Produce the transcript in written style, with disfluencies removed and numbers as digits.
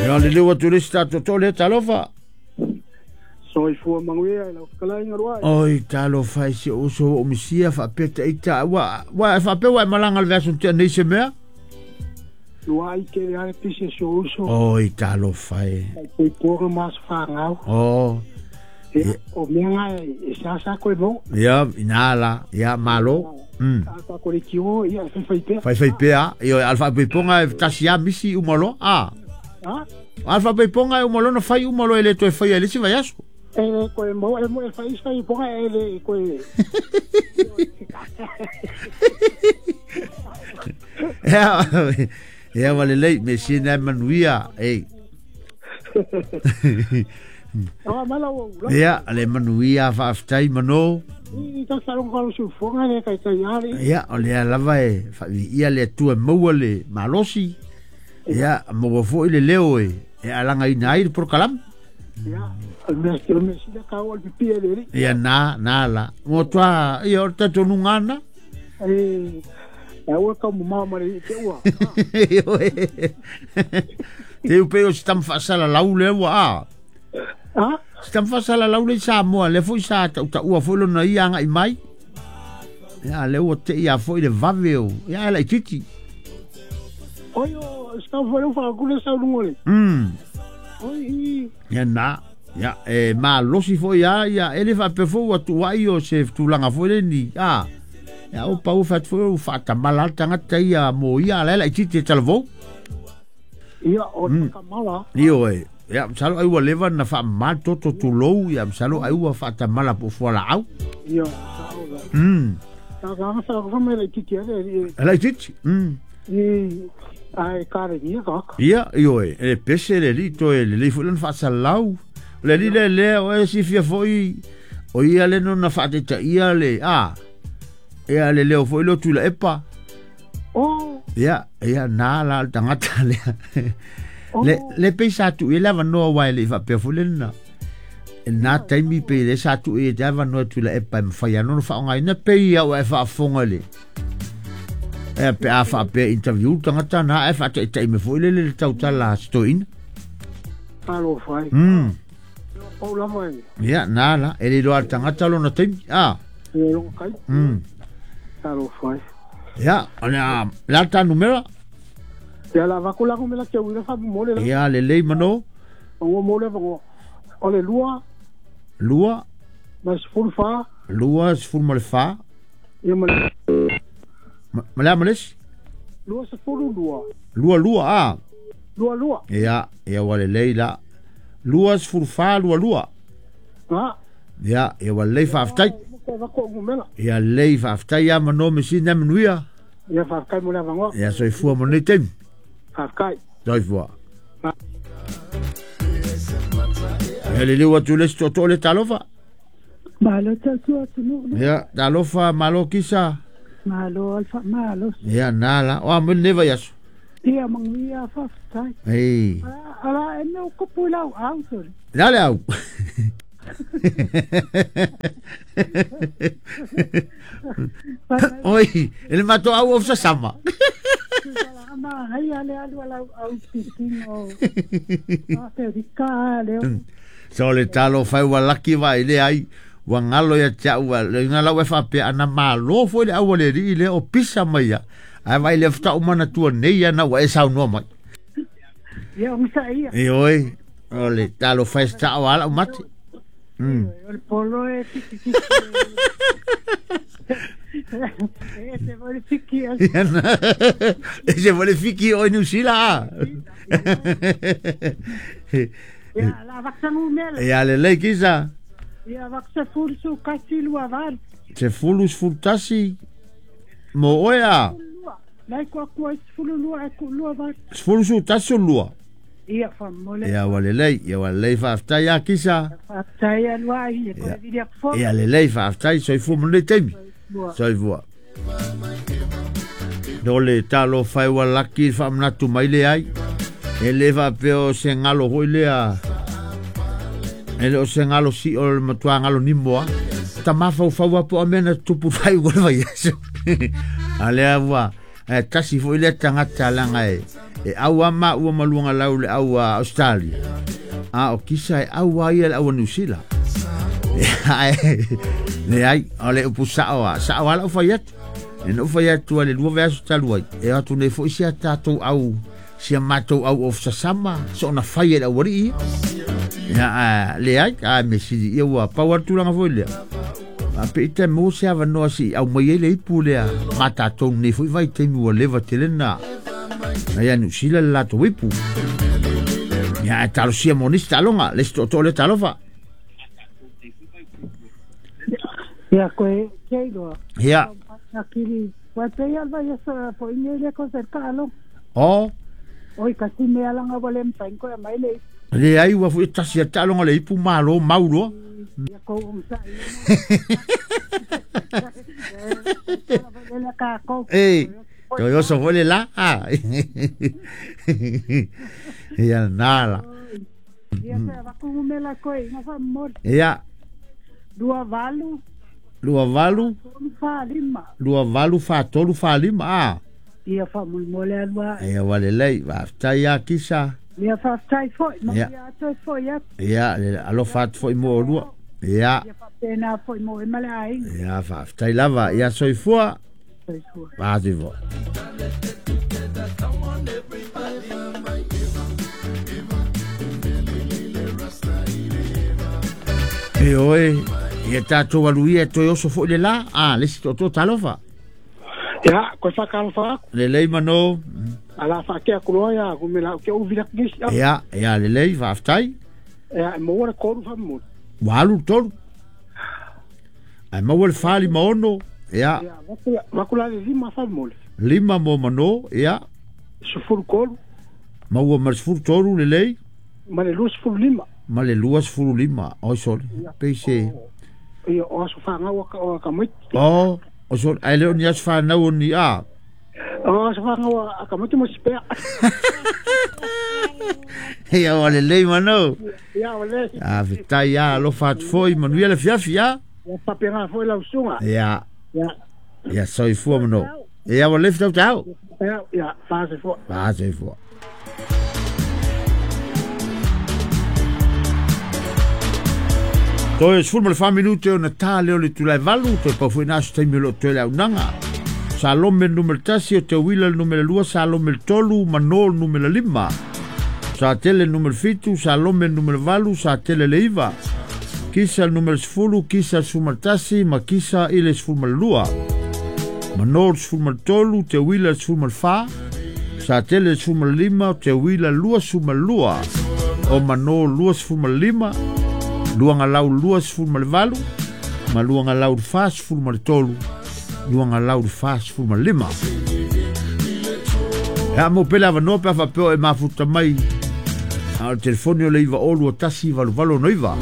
Ia le leu atu le isi tatou to le talofa. Soifua manuia i lau fetalaiga Luai. Oi talofa i si ou uso ua ou misia faapea taita ua ua e faapea ua e malaga i le vaiaso na tea nei se mea. Luai tele lava le pisi a si ou uso. Oi talofa e. Faaipoipoga ma aso fanau. Oh. Ia, o mea na e seasea koe maua. Ia, ina la, ia, malo. A tatou leitio, ia, e faifai pea. Faifai pea, ioe, a o le faaipoipoga e tasi lava misi uma loa, a. A? A o le faaipoipoga e uma loa ona fai uma loa e le toe faia i le isi vaiaso. E le toe maua, e fai isi faaipoipoga e le toe... Ia, ia ua lelei, mea sili lena e manuia, ei. Ia, le manuia faafetai mano. Ia, o lea lava e faaviia le Atua e maua le malosi. Ia, maua foi le leo e e alagaina ai le polokalame. Ia, na, na la. Mo toa, ia, o le talitonuga lena. Te u pei o se tama faasalalau lea ua a. A? Se tama faasalalau lea i Samoa, lea foi sa tautaua foi lona ia agai mai. Ia, lea ua tei a foi le vave o, ia, e laitiiti. Oi, o se tama foi lea ua faatu lea sau luga o le. Oi, i. Ia na, ia, e malosi foi a, ia, e le faapea foi ua tuuai o se tulaga foi lea ni, a. Ia, o pau fai atu foi ua faatamala lava le tagata ia mo ia, a la e laitiiti e talavou. Ia, o le faatamala. Ioe. Ia, masalo ai ua leva ona faamama le toto tulou, ia, masalo ai ua faatamala po o fualaau. Ia, sao la. Sa sa sa sa mai laitiiti ale e. Laitiiti. I ai kare ni ka. Ia, ioe, e pese le alii toe lelei foi lona faasalalau. O le alii lea lea o e silafia foi o ia le nona faataitaia le a ia le leo foi leo Tuilaepa. Oh. Ia, ia na la le tagata lea. Le le pei sa tuu i ai le avanoa aua e le i faapea foi le na. E na taimi pei le sa tuu i ai le avanoa e Tuilaepa e mafai ana ona faaaogaina pei ia ua e faafofoga i le e pe a faapea interview le tagata na ae faataitai mai foi lele le tautala a si toeaina. Talofa ai. Pau lava e. Ia, na la, e le iloa le tagata lona taimi. A. E lona taimi. Talofa ai. Ia, o le a, le a le ta numera? Ia, la avatu la numera te uila fa mo le la. Ia, lelei mano. O mo le vangoa. O le lua. Lua. Ma le 14. Lua, 14. Ia ma le. Ma le a ma le isi? 22. Lua, lua, a. Lua, lua. Ia, ia ua lelei la. 24, lua, lua. A. Ia, ia ua lelei faafetai. Ia lelei faafetai ia mano me sina manuia. Ia faafetai mo le avanoa. Ia soifua mo lenei taimi. Faafetai. Soifua. Ia liliu atu le isi tootoo le talofa. Malo tautua atunuu. Ia, talofa malo kisa. Malo al faamalosi. Ia na la, o a mo lenei vaiaso. Ia manuia faafetai. Ei. Ala e mea o kupu i lau au sole. La le au. Oi, e le matou au o sasama. Ma ai ale alu ala au pitino. Aferika le. So le talo fai ua laki vai le ai ua ngalo ia te au le nga lau e faapea ana malo foi le au a le alii lea o pisa mai ia ae vai le faatoa uma manatua nei ana ua e saunoa mai. Ia ogasai ia. Ioe, o le talofa e sao a lau mate. O le polo e tiki tiki. E ese foi le fiki. Ese foi le fiki o New Zealand. Ia, la vaksa numera. Ia lelei kisa. Ia vaksa fulu su kasi lua valu. Se fulu sefulu tasi mo oe a. Lai kua kua i sefulu lua e ku lua valu. Sefulu su tasi o lua. Ia faamolemole. Ia ua lelei, ia ua lelei faafetai a Kisa. Faafetai alu ai, e koe vili aku fo. Ia lelei faafetai, soifua mo lenei taimi. Soifua. No le talofa e ua laki le faamanatu mai le ai. E le faapea o se galo foi lea. E le o se galo sio o le matua galo nimo a. Ta mafaufau a po o mea na tupu fai ua le vaiaso. A lea ua, e tasi foi lea tagata leaga e, E au ama ua maluanga lau le au Australia. A o kisa e au ai le au New Zealand. Le ai, o le upu sao a, sao ala o fai atu. E no fai atu ale lua veaso talu ai. E atu nei foi sia tātou au, sia mātou au of sasama, so ona fai e le auari ia. Ia, le ai, a me sili ia ua pau atu langa foi lea. A pe ita mo se avanoa si au mai ai le ipu lea, ma tātou nei foi vai taimi ua leva tele na. Na ia New Zealand le latou ipu. Ia, e talosia mo nisi taaloga, le isi tootoo lea talofa. Ia, koe keiloa. Ia. Akili, wa te ia vai asa po inge le ko se kaalo. O. Oi ka si me alanga wale mtain ko mai le. Le ai ua fu tasi taaloga le ipu malo maulo. Ia ko um sa. Le ka ko. Ei. To yo so fole la. Ia nala. Ia se va ku me la ko inga fa mor. Ia. 28 28 3 4 5. 28 4 3 4 5 a. Ia fa mo le alua. Ia wale lei va tai a kisa. Ia fa tai foi ma Ia. Ia toi foi atu. Ia le alofa atu foi mo olua. Ia. Ia fa pena foi mo e male ai. Ia fa tai lava ia soifua. Soifua. Va soifua. E oe, ia tātou alu ia toe oso foi le la, a, le si toto talofa. Ia, koe whakalofa aku. Le lei mano. Ala whakea kuroa ia, ku me lau ke uvira kisi. Ia, ia le lei, whaaftai. Ia, e maua le koru whamuri. Walu tolu. Ai maua le whali maono. Ia. Ia, wakula le 5 whamuri. 5 mo mano, ia. 13. Maua ma le 13 le lei. Ma le 25. Ma le 25. Oi sole. Peise. Ia, o aso whangau o ka maiti. O, o sole. Ai leo ni aso whanau o ni a. O aso whangau a ka maiti mo sipea. Ia, o le lei mano. Ia, o le. A fitai ia, alofa atu foi, manuia le fiafi ia. Ia, papenga foi lau sunga. Ia. Ia. Ia, soifua mano. Ia, o le fitau tau. Ia, ia, whaasefua. Whaasefua. Toe 14 minute o na tā leo le tulai valu, toe pau foi nā aso taimi o loo toe le aunaga. Salome numera 1, o te Wila numera 2, Salome 3, Manol numera 5. Sa tele numera 7, Salome numera 8, sa tele le 9. Kisa numera 10, kisa 11, ma kisa ile 12. Manol 13, te Wila 14, sa tele 15, te Wila 22. O Manol 25, luanga lau 28, ma luanga lau 43, luanga lau 45. Ea mo pele avanoa pe awhapeo e mafuta mai. A o le telefoni o le iva olu o tasi valu valu noiva.